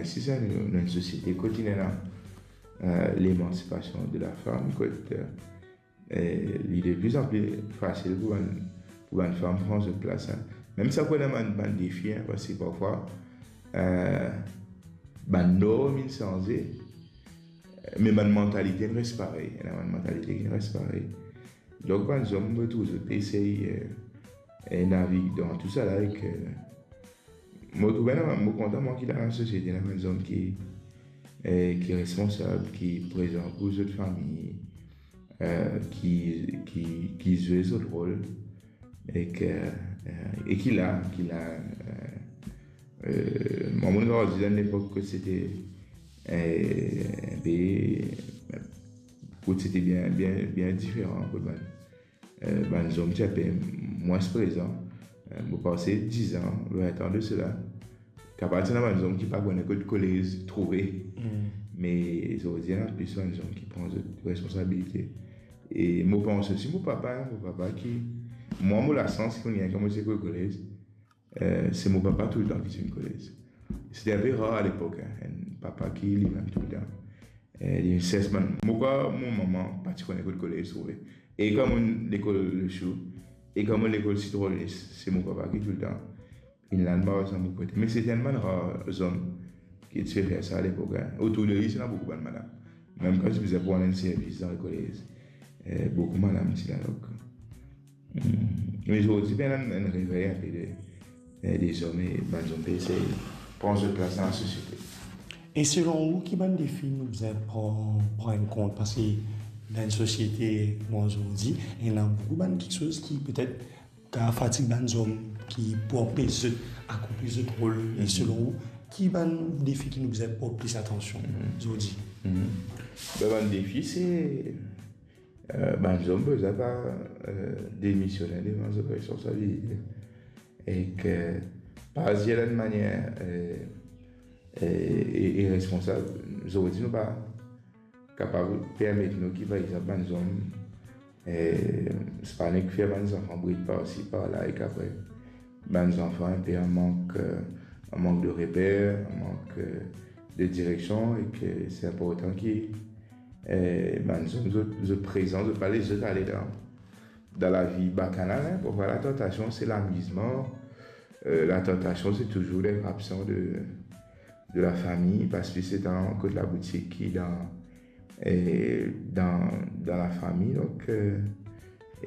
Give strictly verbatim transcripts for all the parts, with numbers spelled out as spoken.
Si sa, nou, nou enn sosiete kot ena, euh, lemansipasion de lafam, kot, euh, eh, li de pli an pli fasil pou bann, pou bann fam pran zot plas, hein. Mem si ena bann, bann defi, hein, parski parfwa, eh, bann norm inn sanze, me bann mantalite inn res parey. Ena bann mantalite ki inn res parey. Donk, bann zom, mo trouv zot pe esey, eh, eh, navig dan tou sa la ek, eh, mo trouve, non, mo kontan, mwa, ki dan lasosiete, ena bann zom ki, eh, ki responsab, ki prezan pou zot fami, eh, ki, ki, ki zwe zot rol, ek, eh, eh, e ki la, ki la, eh, eh, mwa, mo'nn grandi dan enn lepok kot sete, eh, be, kot sete bien, bien, bien diferan, kot bann, eh, bann zom ti enpe mwins prezan. Eh, mo panse diz an, vin an de sela, kapav ti ena bann zom ki pa kone kot kolez trouve. Mm. Me zordi, ena plis bann zom ki pran zot responsabilite. E mo panse osi mo papa, mo papa ki, mwa, mo lasans ki mo gagn kan mo ti kolez, eh, se mo papa toultan ki ti vinn kolez. Sete enpe rar alepok, hein, enn papa ki limem toultan. Eh, li inn ses bann, mo krwar mo mama pa ti kone kot kolez trouve. E kan mo'nn lekol Lesiou, e kan mo'nn lekol Sitronis, se mo papa ki toultan inn la, mo pa sa mo kote. Me sete enn bann rar zom ki ti pe fer sa alepok, hein. Otour de li, ti ena boukou bann madam. Mem kan ti bizin pou al rann servis dan lekolez, eh, boukou madam ti la, donk. Hmm. Me zordi, ena enn, enn revey enpe de, eh, de zom, e bann zom pe esey pran zot plas dan lasosiete. E selon ou, ki bann defi nou bizin pran, pran an kont? Parski dan enn sosiete, kouma zordi, ena boukou bann kiksoz ki petet kapav fatig bann zom, ki pou anpes zot akonpli zot rol. E, mhm, selon ou, ki bann defi ki nou bizin port plis atansion, mhm, zordi? Mhm. Be, bann defi, se, eh, bann zom bizin pa, eh, demisone devan zot responsabilite. Ek pa azir dan enn manier, eh, eh, i-, iresponsab. Zordi, nou pa kapav permet nou ki, par exanp, bann zom, eh, se pa nek fer bann zanfan brit parsi, parla, ek apre bann zanfan enpe an mank, eh, an mank de reper, an mank, eh, de direksion, ek se inportan ki, eh, bann zom, zot, zot prezan, zot pa les zot ale dan, dan lavi bakanal, hein. Parfwa, latantasion, se lamizman, eh, latantasion, se touzour d'être absent de, de la famille, pas plis letan kot laboutik ki dan, eh, dan, dan lafami. Donk, eh,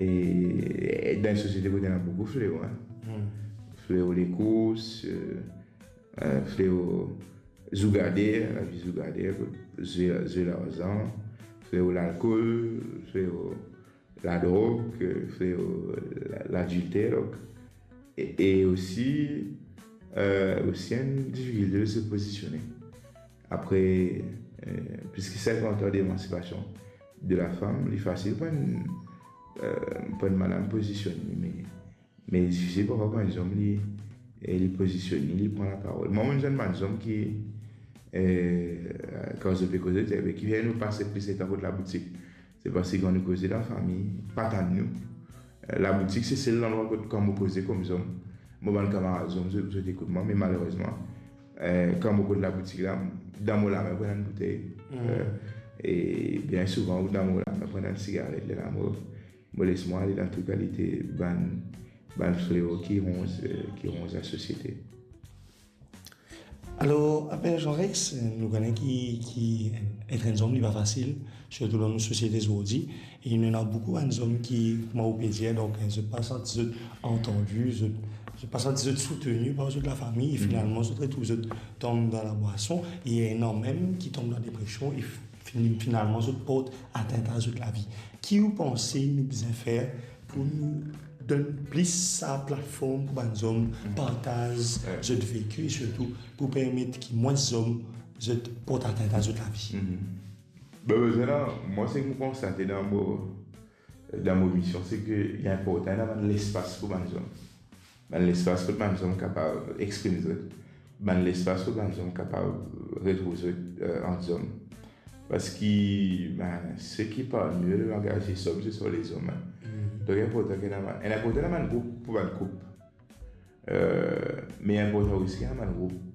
e, e dan enn sosiete kot ena boukou fleo, hein. Hmm. Fleo lekours, eh, eh, fleo zougade, lavi zougade, kot zwe, zwe larzan, fleo lalkol, fleo ladrog, eh, fleo la-, ladilter, donk. E, e osi, eh, osi enn difikilte de se pozisione. Apre, eh, plis ki sinkant an demansipasion de lafam, li fasil pou enn, eh, pou enn madam pozisionn li, me, me difisil parfwa pou enn zom li, eh, li pozisionn li, li pran laparol. Mwa, mo'nn zwenn bann zom ki, eh, kan zot pe koze, zot dir, "Be, kifer nou pase plis letan kot laboutik?" Se parski kan nou koze dan fami, pa tann nou. Eh, laboutik, se sel landrwa kot, kan mo koze kouma zom, mo bann kamarad zom, zot, zot ekout mwa, me malerezman, eh, kan mo kot laboutik la, dan mo lame, pou ena enn boutey. Hmm. Eh, e bien souvan, ou dan mo lame, pou ena enn sigaret, lerla mo, mo les mwa ale dan tou kalite bann, bann fleo ki ronz, eh, ki ronz lasosiete. Alor, apre Jean Rex, nou kone ki, ki et enn zom, li pa fasil, sirtou dan nou sosiete zordi. E nou ena boukou bann zom ki, kouma ou pe dir, donk, zot pa santi zot antandi, zot, zot pa santi zot souteni par zot lafami, e, mhm, finalman, zot retrouv zot tonbe dan labwason, e ena mem ki tonbe dan depresion, e fin-, finalman, zot port atint a zot lavi. Ki ou panse nou bizin fer pou nou donn plis sa platform pou bann zom, mhm, partaz, ouais, zot veki, e sirtou pou permet ki mwins zom zot port atint a zot lavi? Mhm. Be, be, la, mwa, seki mo konstate dan mo, dan mo mision, seki li inportan ena bann lespas pou bann zom. Bann lespas kot bann zom kapav exprim zot. Bann lespas kot bann zom kapav retrouv zot, eh, ant zom. Parski, ben, ce qui parle mieux le langage des hommes, ce sont les hommes, hein. Mhm. Donk, inportan ki ena bann, inportan ena bann group pou bann koup. Eh, me inportan osi ki ena bann group